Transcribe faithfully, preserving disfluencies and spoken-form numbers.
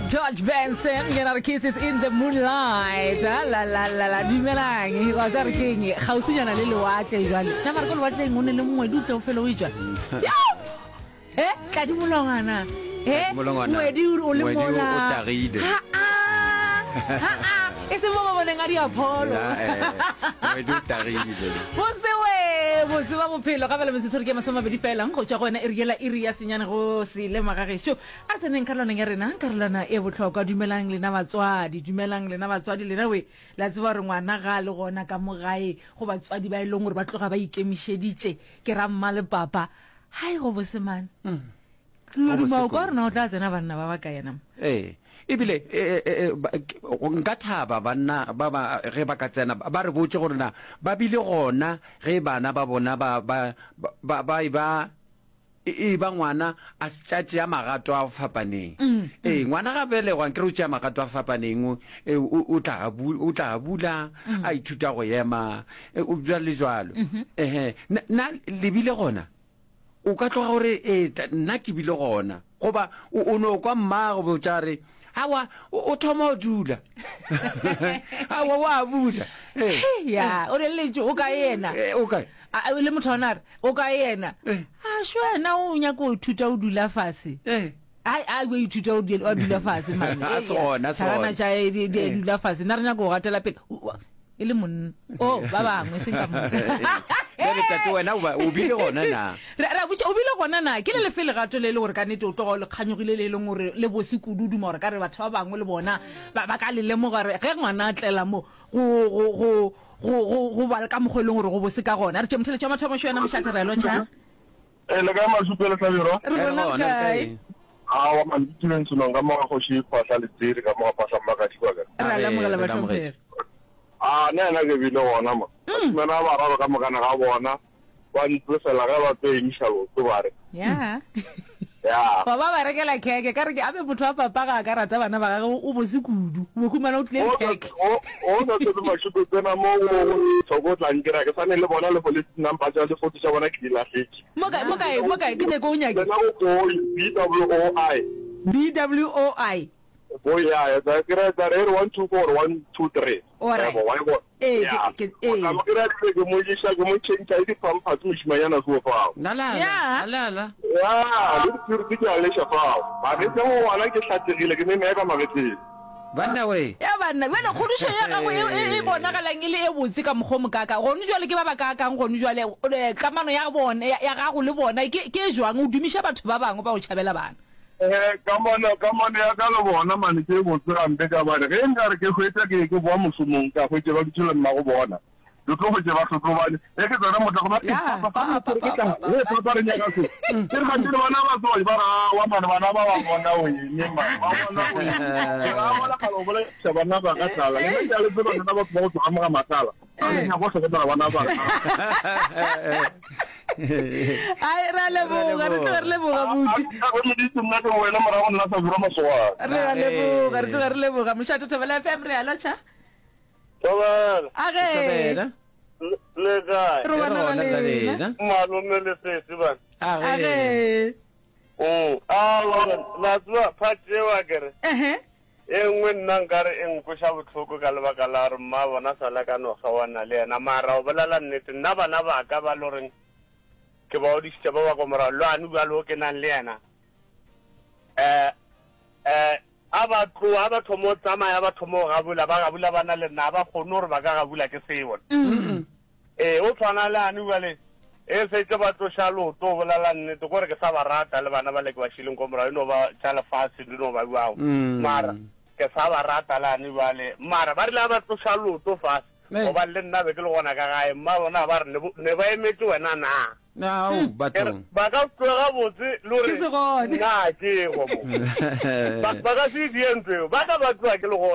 George Benson yena re kisses in the moonlight. Ah, la la la la dumelang wa tsa re keng kgauswinyana le lewatle jwale na mare ko lewatleng o ne le ngwedi o tle o fele o etswa e tladi molongwana e Molongwana. ngwedi o le Ngwedi o- mola o tagile. Ha, ah, ha, ah. e se mo ba boneng a diapholo Ya, eh, ngwedi o tagile. bosewe bose ba bophelo ga bele metsotso ke masome mabedi fela go tšwa go wena iri yela iri ya senyane go se lema gešo a re tseneng karolwaneng ya rena karolwana e bohlokwa dumelang lena batswadi dumelang lena batswadi lena we la tseba gore ngwana ga a le gona ka mo gae go batswadi ba e leng gore ba tloga ba ikemišeditše ke ra mma le papa hai go bosemane loduma o ka rena o tla tsena banna ba ba ka yena mo ee ebile e, e, e, ba- ke- nka thaba banna ba ba ge ba ka tsena ba re botse gore na ba bile gona ge bana ba bona ba ba ba ba e ba e e ba ngwana a se tša tšea magato a fapaneng ee ngwana ga belegwa nkere o tšea magato a fapaneng o e, o o tla bu- o tla bula a ithuta go ema e, o bjalo le jwalo ehe na na le bile gona o ka tloga gore ee ta- nna ke bile gona goba o o no kwa mmago botša re awa o o thoma o dula awa wa bula ee ya o reletše o ka yena Eh, o kae A- a- le motho wa ona a re o ka yena Eh. a sho wena o nyaka go ithuta o dula fase ee ai a o ithuta o dula o dula fase mane A se gona, a se Tšhakana gona. tša di di Eh. dula fase nna re nyaka go gatela pele O- o- e le monna o ba bangwe seng ka moka bjale tate wena o ba- o bile gona na Re ra botša o bile gona na ke le lefe legato le e le gore ka nnete o tloga o le kganyogile le e leng gore le bose kudu o duma gore ka re batho ba bangwe le bona ba ba ka le lemoga gore ge ngwana a tlela mo go go go go go go ba ka mokgwa e leng gore go bose ka gona re tše motheletši wa mathomo šo wena mošate re a lotšha Eh, le kae Masupe le Hlabirwa? re Eh, re gona re gona, re kae kae? Aowa man, ke tšweleng selong ka mo ga kgoši Phahla Letsiri ka mo ga Phahla Mmakadi kwa ka. re a Re- lemogela re bahlomphegi amogetše. Ah, nna yena ke bile gona mo. Bašemane ba bararo ka mokana ga bona ba ntsefela ge ba tlo emiša leoto ba re. ya Ya. wa ba ba rekela kheke ka re ke abe motho wa papa ga a ka rata bana ba gage o bose kudu o bo humana o tlile O le kheke o o sa tsebe Masupe tsena mo go thoko o tla nkira ke sane le bona le police number tša le photo tša bona ke di lahletše. mo kae mo kae mo kae ke nyako o nyake Tsena go Boy B W O I. b w o i Boy ya, ya tla kry-a tla re e re one two four one two three. Alright. Yabo, wa e bona. Ee, Ya. ke- ke- ee. O tla mo kry-a ebile ke mo iša ke mo change le di-pampers mošimanyana seo fao. Nalala, Ya. alala. Ya, le di-purity ke a leša fao. Magetleng go ngwana ke hlatsegile ke meme ka magetleng. Banna we. ya banna bjale kgodišo ya gago e e- e bonagalang e le e botse ka mokgwa o mokaka gone jwale ke ba ba kaakang gone jwale eh, kamano ya bone ya ya gago le bona ke ke e jwang o dumiša batho ba bangwe ba go tšhabela bana Eh, kamano kamano ya ka le bona mane ke e botse gampe ka bane ge nkare ke hwetša ke ke boa mošomong ka hwetše ba dutše le mmago bona ke tlo hwetše ba hlotlobane ge ke tsena motla goba Ya, papa papa, ke tla papa, e papa re nyaka se ke re gantsi le bana ba tsoe ba re awa mane bana ba ba bona o eme mane ba bona o eme ke ra bona kgale o bolaiša bana ba ka tlala le nna ke a le tseba lena batho ba go tsoga moga matlala a le nyaka go hlokomela bana ba ka ai re a leboga re tloga re leboga buti a meditse nna ke wena morago nna sa dira masogana re a leboga re tloga re leboga mošate thobela f m re a lotšha Thobela age Thobela. le kae re Re bona gona ga ka lena lena. malome le sesi bana Age. age Mm. Aowa, la tseba part eo akere ehe e nngwe nna nkare e nkweša bohloko ka lebaka la gore mma bona sala ka no kgaoana le yena mara o bolela nnete nna bana ba ka ba le goreng ke ba odišitše ba ba ko morago lwane bjalo o ke nang le yena um um a ba tloa a ba thoma o tsamaya ba thoma o gabula ba gabula ba na le nna a ba kgone gore ba ka gabula ke seo ee o tshwana le ane bjale e setse ba tloša leoto o bolela nnete kore ke sa ba rata le bana ba le ke ba šileng ko morago e no ba tša lefase di no ba bjao Mm. mara ke sa ba rata le ane bjale mara ba rile a ba tloša leoto fase Ee. gobane le nna be ke le gona ka gae mma bona ba re ne bo- ne ba emetse wena na Ao, Ke re, bathong. ba ka tloga botse le gore Ke se gone. nna ke go mo ba ba ka se die ntho eo ba ka ba tloga ke le gona